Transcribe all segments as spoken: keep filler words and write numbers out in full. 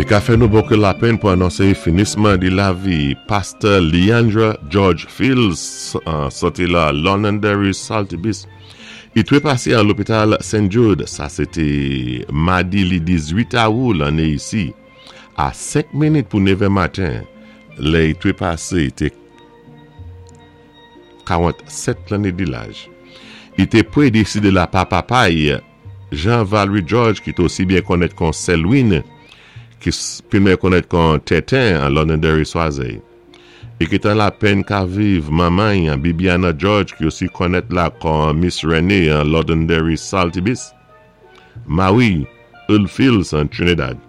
I ka fè nou bokou lapenn pou anonsé finisman di lavi Pastor Leandra George Fields soti la Londonderry Saltibus. I twé pasé an lopital Saint Jude, sa sé té madi li dizuit awou lanné isi, a senk minit pou nevè maten, lè i twé pasé té kawantsèt lanné di laj. I té pwédésédé la pa papa'y Jean-Valery George ki té osi byen konnèt kon Selwyn, ki pi meyè konnèt kon Teten an Londonderry Swazey. I kit an lapenn ka viv manman'y Bibiana George ki osi konnèt la kon Miss Renee an Londonderry Saltibus. Mawi Earl Fields an Trinidad.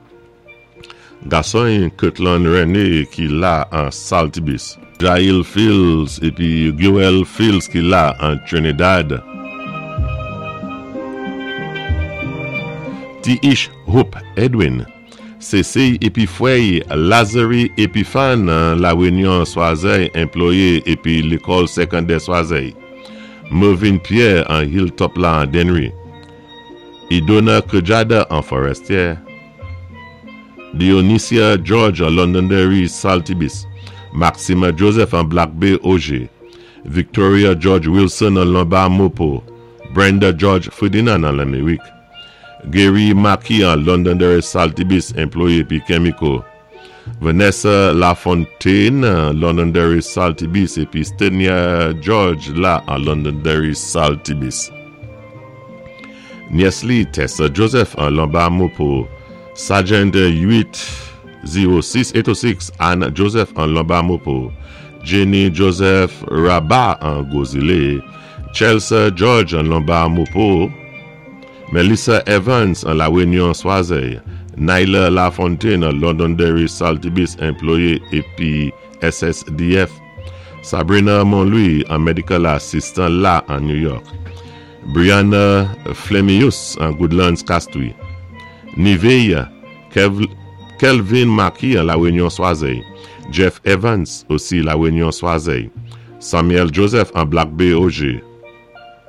Gason'y Kirtland Renee ki la an Saltibus. Jail Fields épi Guel Fields ki la an Trinidad. Ti Ish Hope Edwin. Cécile épi fwè'y Lazary Epiphane La Réunion Swazey anplwayé épi lékòl sékondè Swazey. Mervyn Pierre an Hilltop la an Dennery. Idona Kujada an Forestier. Dionysia George an Londonderry Saltibus. Maxima Joseph an Black Bay Auger. Victoria George Wilson an Lombard Mopo. Brenda George Ferdinand an Lamérique. Gary Mackey an Londonderry Saltibus anplwayé épi Chemico. Vanessa Lafontaine an Londonderry Saltibus épi Stenia George la an Londonderry Saltibus. Nyès li Tessa Joseph an Lombard Mopo. Sergeant eight oh six eight oh six Anne Joseph an Lombard Mopo. Jenny Joseph Rabat an Gros Islet. Chelsea George an Lombard Mopo. Melissa Evans an La Réunion Swazey. Nyla Lafontaine an Londonderry Saltibus anplwayé épi S S D F. Sabrina Monlouis an medical assistant la an New York. Brianna Flemius an Goodlands Castries. Nivea Kev Kelvin Maki an La Réunion Swazey. Jeff Evans osi La Réunion Swazey. Samuel Joseph an Black Bay Auger.